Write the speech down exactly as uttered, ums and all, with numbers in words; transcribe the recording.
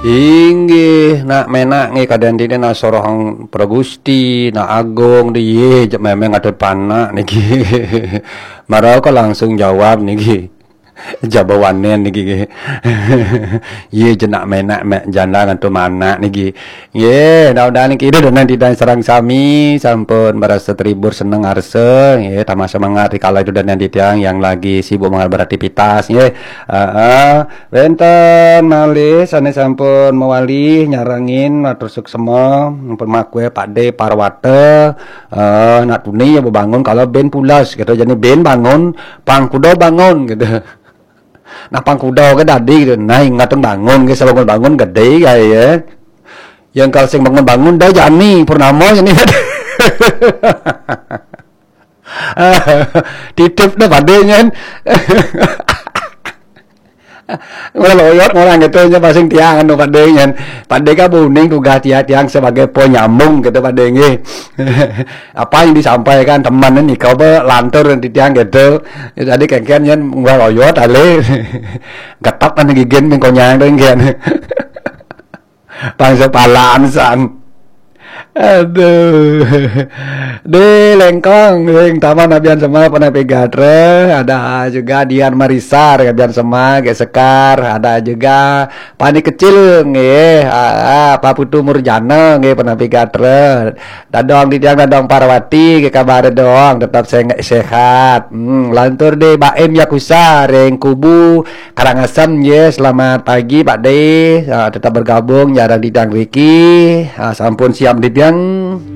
Inggih, nak menak nggih kadang dini nak soroh Pragusti, nak agung di ye, jek memang ada panak niki. Marau ka langsung jawab niki. Jabawanen niki nggih. Ye jenak menak mek janda ngantu manak niki. Nggih, mudah-mudahan niki ida danan didang sareng sami sampun merasa terhibur, seneng arsa nggih, tambah semangat di kala ida danan didang yang lagi sibuk mengal beraktivitas nggih. Heeh. Wenten malih sane sampun mewali nyarengin, matur suksema, pun makue Pak De Parwata, eh, nak tuni ya bebangun kalau ben pulas gitu. Jadi ben bangun, pang kuda bangun gitu. Nah, pang kuda ke dadi gitu. Nah, ingatun bangun ke, sebangun-bangun gede kae ya. Yang kalau sing bangun-bangun dah jani purnama ini. Titip dah Pak De nyen. Ora loyot orang gitu nya pasing tiang anu Pak De nyen. Pak De ka buning tugas tiang, tiang sebagai penyambung gitu Pak De nggih. Apa yang disampaikan teman ini kau be lantur di tiang gitu. Ya, jadi kengken nyen ora loyot ale. Getak kan gigen mengkonyang dong ngen. Bangsa palaan san. Aduh. Di Lengkong, ring Taman Abian Sema, Penapi Gatra, ada juga Dian Marisar, Abian Sema, Gek Sekar, ada juga Pani Kecil, nggih, ah, ah, Pak Putu Murjana, nggih, Penapi Gatra. Dadong di tiang Dadong Parwati, ke kabar dong, tetap se- sehat. Hmm, lantur di Baim Yakusa, ring Kubu, Karangasem, nggih, selamat pagi Pak De. Ah, tetap bergabung, jarang didang Riki. Ah, sampun siap didang.